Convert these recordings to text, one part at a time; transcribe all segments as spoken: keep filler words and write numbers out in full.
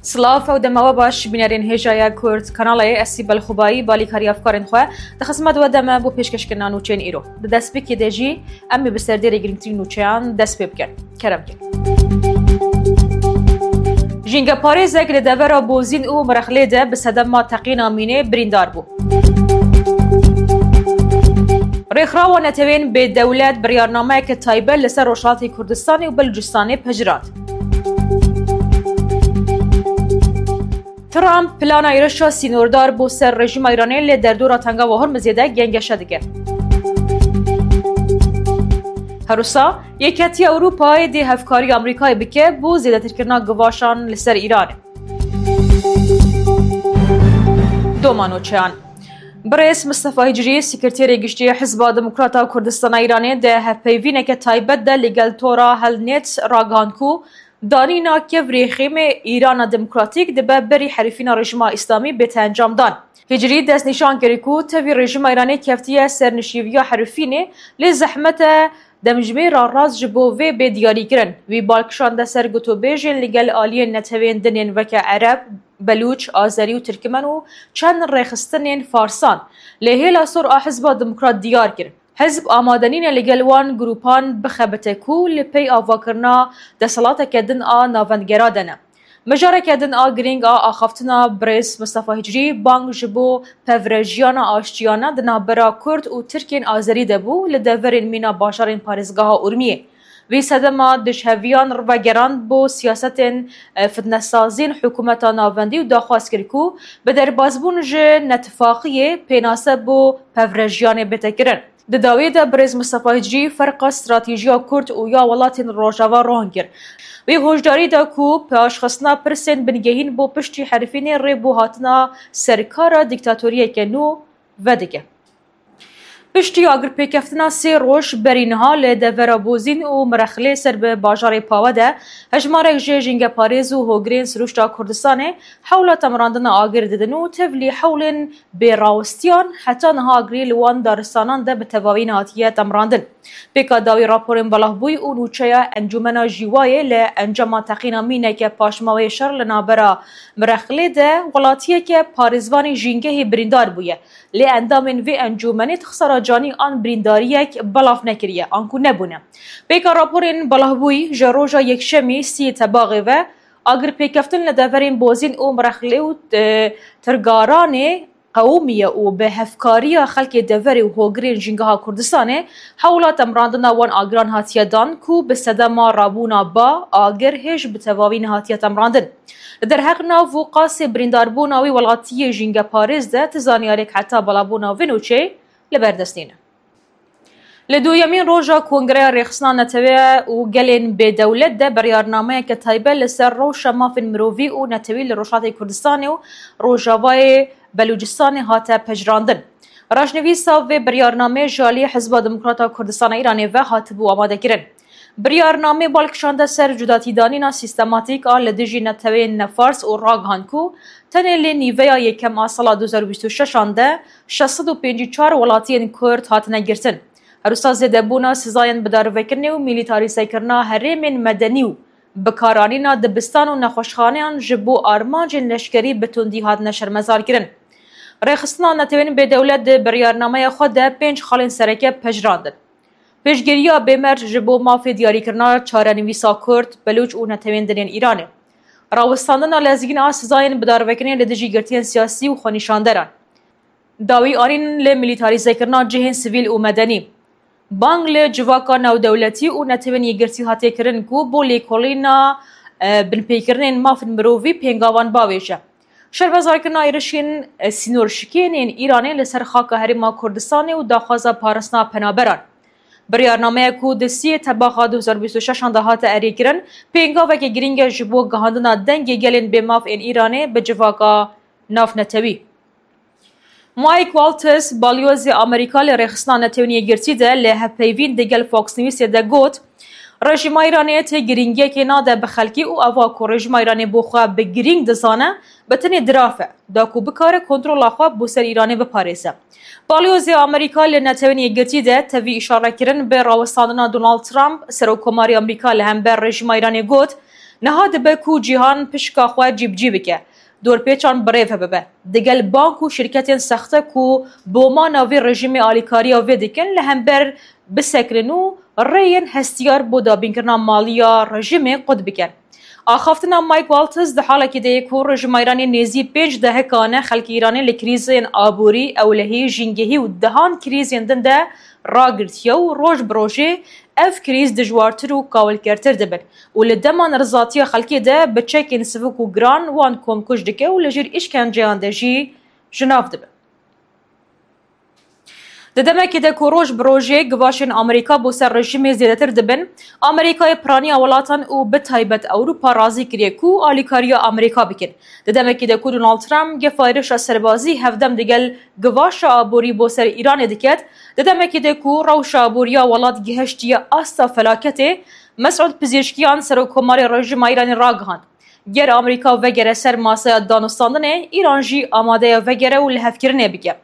Silav û dema we baş, bînerên hêja ya Kurd Kanalê, ez Sîbel Xubayî, balîkarî hevkarên xwe, di xizmet we de me bo pêşkêşkirina nûçeyên îro. Di destpêkê de jî em ê bi ser dêrê girîngtirîn nûçeyan dest pê bikin. Kerem ke. Jîngeparêzek li devera Bozîn û Mirexlê de bi sedema teqîna mînê birîndar bû. Rêxrawa Netewên Bêdewlet biryarnameyeke taybet li ser Rojhilatê Kurdistanê û Belûcistanê pejirand. Trump plana êrişa sînordar bo ser rejîma Îranê li derdora Tengava Hormizê de gengeşe dike. Herwisa, Yeketiya Ewropayê dê hevkarî Amerîkayê bike bo zêdetirkirina givaşan li ser Îranê. Doma nûçeyan. Birêz Mistefa Hicrî, Sekreterê Giştî Hizba Demokrata Kurdistana Îranê, di hevpeyvîneke taybet de li gel Tora Helnet ragihand ku danîna kevirê rêxîmê Îrana Demokratîk dibe berî herifîna rejîma Îslamî bête encamdan. Hicrî destnîşan kir ku tevî rejîma Îranê keftiye ser nişêviya herifînê, lê zehmet e demjimêra rast ji bo vê bê diyarîkirin. Wî bal kişande ser gotûbêjên li gel aliyên netewên din ên weke Ereb, Belûç, Azerî û Tirkmen û çend rêxistinên Farsan. Lê hêla sor a Hizba Demokrat diyar kir. Hizb amade nîne li gel wan grûpan bixebite ku li pey avakirina desthilateke din a navendgera de ne. Mijareke din a girîng a axaftina birêz Mistefa Hicrî bang ji bo pevrejiyana aştiyane di navbera Kurd û Tirkên Azerî de bû li deverên mîna bajarên parêzgeha Urmiyê. Wî sedema dijheviyan vegerand bo siyasetên, e, fitnesazîn hikûmeta navendî û daxwaz kir ku bi derbazbûn ji netifaqiyê pênase bo pevrejiyanê bête kirin. Di dawiyê de birêz Mistefa Hicrî ferqa stratejiya Kurd û ya welatên Rojava rohan kir. Wî hoşdarî da ku paşxistina pirsên bingehîn bo piştî herifînê rê bo hatina ser kara dîktatoriyeke nû vedike. Piştî agirpêkeftina sê roj berî niha li devera Bozîn û Mirexlê ser bi bajarê Pawe de hejmarek ji jîngeparêz û hogirên sirûşta Kurdistanê hewla temrandina agir didin û tevlî hewlên bêrawistiyan heta niha agirî li wan daristanan de bi tevawî nehatiye temrandin. Pêka dawî raporên belavbûyî û nûçeya Encûmena Jîwayê li encama teqîna mîneke paşmaweyê şer li navbera Mirexlê de welatiyeke parêzvanê jîngehê birîndar bûye. Lê endamên vê encûmenê di xisara canî an birîndariyek belav nekiriye, anku nebûne. Pêka raporên belavbûyî ji roja Yekşemî sî Tebaxê ve, agirpêkeftin li deverên Bozîn û Mirexlê û, e, Tirgaranê qewimiye û bi hevkariya xelkê deverê û hogirên Jîngeha Kurdistanê hewla temrandina wan agiran hatiye dan ku bi sedema rabûna ba agir hêj bi tevawî nehatiye temrandin. Li derheq nav û qasê birîndarbûna wî welatiyê jîngeparêz de ti zanyarêk heta belavbûna vê nûçeyê li ber dest nîne. Li duyemîn roja Kongreya Rêxistina Netewe û Gelên Bêdewlet de biryarnameyeke taybet li ser rewşa mafên mirovî û netewî li Rojhilatê Kurdistanê û Rojavayê Belûcistanê hate pejirandin. Rajnivîsa vê biryarnameyê ji aliyê Hizba Demokrata Kurdistana Îranê ve hatibû amadekirin. Biryarnameyê bal kişande ser cudatîdanîna sîstematîk a li dijî netewên nefars û ragihand ku tenê lê nîveya yekem a sala du hezar û bîst û şeş an de şeş sed û pêncî û çar welatiyên Kurd hatine girtin. Her wisa zêdebûna sizayên bidarvekirinê û mîlîtarîzekirina herêmên medenî û bikaranîna dibistan û nexweşxaneyan ji bo armancên leşkerî bi tundî hatine şermezarkirin. Rêxistina Netewên Bêdewlet di biryarnameya xwe de pênc xalên sereke pejirandin. Piştgiriya bêmerc ji bo mafê diyarîkirina çarenivîsa Kurd, Belûç û netewên din ên Îranê. Rawestandina lezgîn a sizayên bidarvekirinê li dijî girtiyên siyasî û xwenîşanderan. Dawî anîn li mîlîtarîzekirina cihên sivîl û medenî. Bang li civaka navdewletî û Netewên Yekgirtî hatiye kirin ku bo lêkolîna, e, binpêkirinên mafên mirovî pêngavan bavêje. Şermezarkirina êrişên, e, sînorşikên ên Îranê li ser xaka Herêma Kurdistanê û daxwaza parastina penaberan. Biryarnameya ku di siyê Tebaxa du hezar bîst û şeş an de hate erêkirin, pêngaveke girîng e ji bo gihandina dengê gelên bêmaf ên Îranê bi civaka navnetewî. Mike Waltz, balyozê Amerîka li Rêxistina Netewên Yekgirtî de li hevpeyvîn digel Fox Newsê de got, Rejîma Îranê tê girîngiyekê nade bi xelkî û eva ku rejîma Îranê bo xwe bi girîng dizane, bi tenê diraf e, da ku bikare kontrola xwe bo ser Îranê biparêze. Balyozê Amerîka li Netewên Yekgirtî de tevî îşare kirin bi rawestandina Donald Trump, Serokkomarê Amerîka li hember rejîma Îranê got, Niha dibe ku cîhan pişka xwe cîbicî bike, dorpêçan bi rêve bibe. Digel bank û şirketên sexte ku boma navê rejîmê alîkariya vê dikin, li hember bisekinin û rêyên hestiyar bo dabînkirina maliya rejîmê qut bikin. Axaftina Mike Waltz di halekî de ye ku rejîma Îranê nêzî pênc dehekane xelkê Îranê li krîzên aborî, ewlehî, jîngehî û dehan krîzên din de ragirtiye û roj bi rojê ev krîz dijwartir û kawilkertir dibin û li dema nerizatiya xelkê de bi çekên sivik û giran wan komkuj dike û li jêr îşkenceyan de jî ji nav dibe. Di demekê de ku roj bi rojê givaşên Amerîka bo ser rejîmê zêdetir dibin, Amerîkayê piraniya welatan û bi taybet Ewropa razî kiriye ku alîkariya Amerîka bikin. Di demekê de ku Donald Trump gefa êrişa serbazî hevdem digel givaşa aborî bo ser Îranê diket, di demekê de ku rewşa aboriya welat gihiştiye asta felaketê, Mesûd Pizîşkiyan, serokkomarê rejîma Îranê ragihand, ger Amerîka vegere ser masaya danûstandinê, Îran jî amade ye vegere û lihevkirinê bike.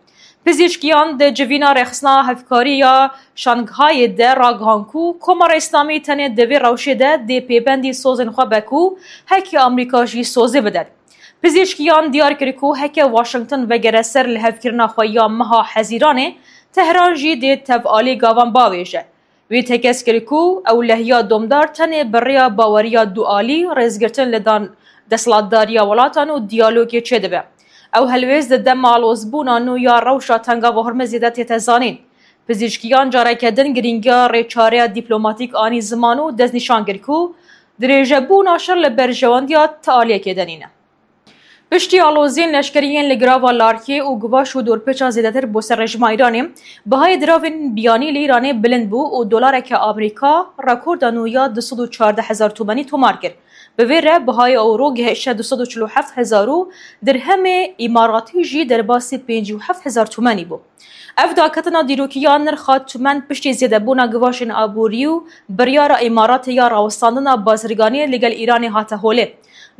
Pizîşkiyan di civîna rêxistina hevkariya Şanghayê de ragihand ku Komara Îslamî tenê di vê rewşê de dê pêbendî sozên xwe be ku heke Amerîka jî sozê bidet. Pizîşkiyan diyar kir ku heke Washington vegere ser lihevkirina xwe ya meha Hezîranê, Tehran jî dê tevalî gavan bavêje. Wî tekez kir ku ewlehiya domdar tenê bi rêya baweriya dualî, rêzgirtin li dan desthilatdariya welatan û diyalogê çêdibe. Ew helwêst di dema alozbûna nû ya rewşa Tengava Hormizê de tête zanîn. Pizîşkiyan careke din girîngiya rêçareya dîplomatîk anî ziman û destnîşan kir ku dirêjebûna şer li berjewendiya ti aliyekê de nîne. Piştî aloziyên leşkerî yên li girava Larkê û givaş û dorpêça zêdetir bo ser rejîma Îranê, bihayê diravên biyanî li Îranê bilind bû û dolareke Amerîka rekorda nû ya du sed û çardeh hezar tomenî tomar kir. Bi vê re bihayê ewro gihişte du sed û çil û heft hezar û dirhemê îmaratî jî derbasî pêncî û heft hezar tomenî bû. Ev daketina dîrokî ya nirxa tumen piştî zêdebûna givaşên aborî û biryara Îmaratê ya rawestandina bazirganiyê li gel Îranê hate holê.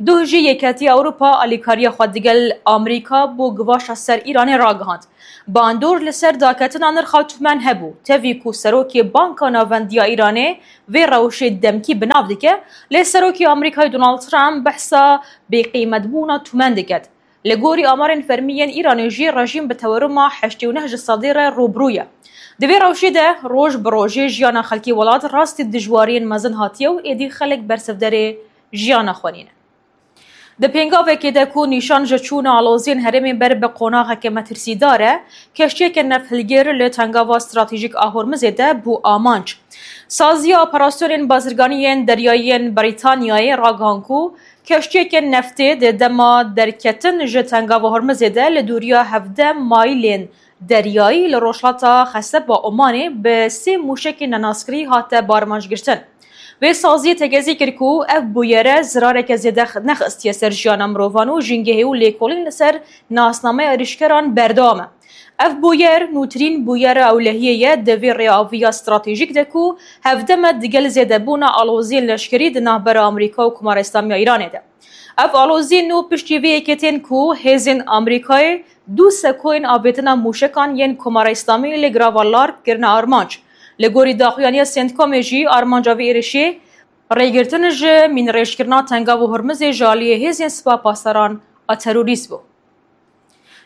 Duh jî Yeketiya Ewropa alîkariya xwe digel Amerîka bo givaşa ser Îranê ragihand. Bandor li ser daketina nirxa tumen hebû, tevî ku serokê Banka Navendî ya Îranê vê rewşê demkî bi nav dike, lê serokê Amerîkayê Donald Trump behsa bêqîmetbûna tumen diket. Li gorî amarên fermî yên Îranê jî rejîm bi teweruma heştê û neh ji sedî re rûbirû ye. Di vê rewşê de roj bi rojê jiyana xelkê welat rastî dijwariyên mezin hatiye û êdî xelk bersivderê jiyana xwe nîne. Di pêngavekê de ku nîşan ji çûna aloziyên herêmê ber bi qonaxeke metirsîdar e, keştiyeke nefthilgêr li tengava stratejîk a Hormizê de bû amanc. Saziya operasyonên bazirganî yên deryayî yên Brîtanyayê ragihan ku keştiyeke neftê di dema derketin ji Tengava Hormizê de li dûriya hevdeh maîlên deryayî li rojhilata Xeseba Omanê bi sê mûşekên nenaskirî hate barmanc girtin. Vê saziyê tekezî kir ku ev bûyere zirareke zêde nexistiye ser jiyana mirovan û jîngehê û lêkolîn li ser nasnameya êrîşkeran berdewam e. Ev bûyer nûtirîn bûyera ewlehiyê ye di vê rêaviya stratejîk de ku hevdem e digel zêdebûna aloziyên leşkerî di navbera Amerîka û Komara Îslamî ya Îranê de. Ev aloziyên nû piştî vê yekê tên ku hêzên Amerîkayê du sekoyên avêtina mûşekan yên Komara Îslamî li girava Lark kirine armanc. Li gorî daxuyaniya CENTCOMê jî armanca vê êrişê rêgirtin ji mînrêjkirina Tengav û Hormizê ji aliyê hêzên Sipa Pasdaran a terorîst bû.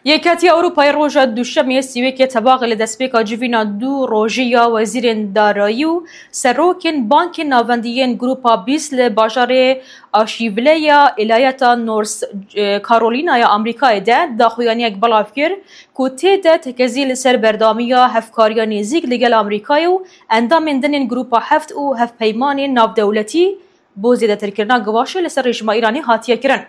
Yeketiya Ewropayê roja Duşemê sî û yekê Tebaxê li destpêka civîna du rojî ya wezîrên darayî û serokên bankên navendî yên Grupa bîst li bajarê Asheville ya îlayeta North, e, Carolina ya Amerîkayê de daxuyaniyek belav kir ku tê de tekezî li ser berdewamiya hevkariya nêzîk li gel Amerîkayê û endamên din ên Grupa heft û hevpeymanên navdewletî bo zêdetirkirina givaşê li ser rejîma Îranê hatiye kirin.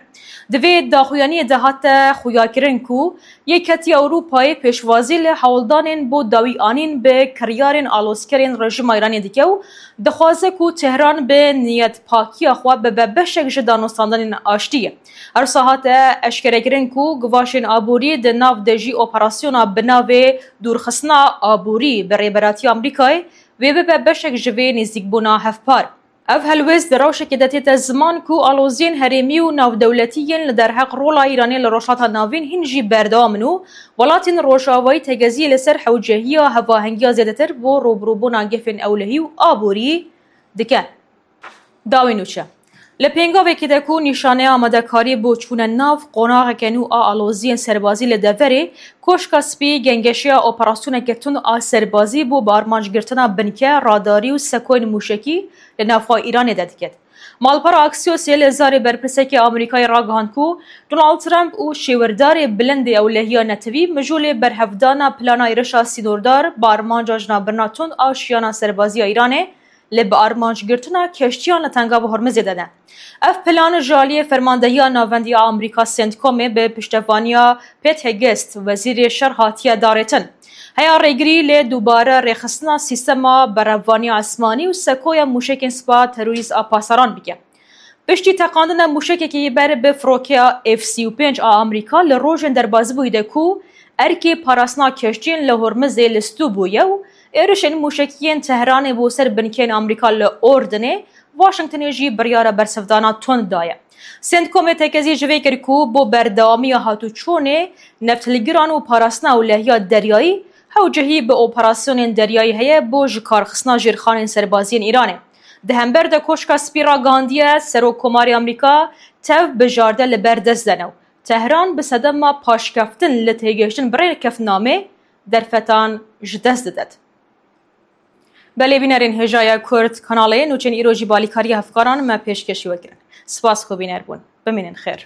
Di vê daxuyaniyê de hate xuyakirin ku Yeketiya Ewropayê pêşwazî li hewldanên bo dawî anîn bi kiryarên alozkerên rejîma Îranê dike û dixwaze ku Tehran bi niyetpakiya xwe bibe beşek ji danûstandanên aştiyê. Her wiha hate eşkerekirin ku givaşên aborî di nav de jî operasyona bi navê Dûrxistina Aborî bi rêberatiya Amerîkayê wê bibe beşek ji vê nêzîkbûna hevpar. Ev helwêst di rewşekê de tête ziman ku aloziyên herêmî û navdewletî yên li derheq rola Îranê li Rojhilata Navîn hîn jî berdewam in û welatên Rojavayî tegeziyê li ser hewcehiya hevahengiya zêdetir bo rûbirûbûna gefên ewlehî û aborî dikin. Dawî nûçe. Li pêngavekê de ku nîşaneya amadekariyê bo çûne nav qonaxeke nû a aloziyên serbazî li deverê Koşka Spî, gengeşeya operasyoneke tund a serbazî bo bi armanc girtina binke, radarî û sekoyên mûşekî li navxwe Îranê de diket. Malpera Axiosê li zarê berpirsekê Amerîkayê ragihand ku Donald Trump û şêwirdarê bilindê ewlehiya netewî mijûlê berhevdana plana êrişa sînordar bi armanca jinabirina tund a şiyana serbazî ya Îranê li bi armanc girtina keştiyan li Tengava Hormizê de ne. Ev plan ji aliyê Fermandehiya Navendî ya Amerîka, CENTCOMê, bi piştevaniya Pete Hegseth, Wezîrê Şer, hatiye darêtin. Heya rêgirî lê dubare rêxistina sîstema berevaniya esmanî û sekoya mûşekên spa terorîst a pasaran bike. Piştî teqandina mûşekekî ber bi firokeya F sî û pênc a Amerîka li rojên derbazbûyî de ku erkê parastina keştiyên li Hormizê li stû bûye û êrişên mûşekî yên Tehranê bo ser binkeyên Amerîka li Ordinê, Washingtonê jî biryara bersivdana tund daye. CENTCOMê tekezî ji vê kir ku bo berdewamiya hatûçûnê nefthilgiran û parastina ewlehiya deryayî, hewcehî bi operasyonên deryayî heye bo ji kar xistina jêrxanên serbaziyên Îranê. Di hember de Koşka Spî ragihandiye, Serokkomarê Amerîka tev bijarde li ber dest de ne û Tehran bi sedema paşkeftin li têgihiştin bi rêkeftinamê derfetan ji dest didet. Belê bînerên hêjaya Kurd kanalê, nûçên îro jî bi alîkariya hevkaran me pêşkêşî we kirin. Spas xwe bîner bûn. Bimînin xêr.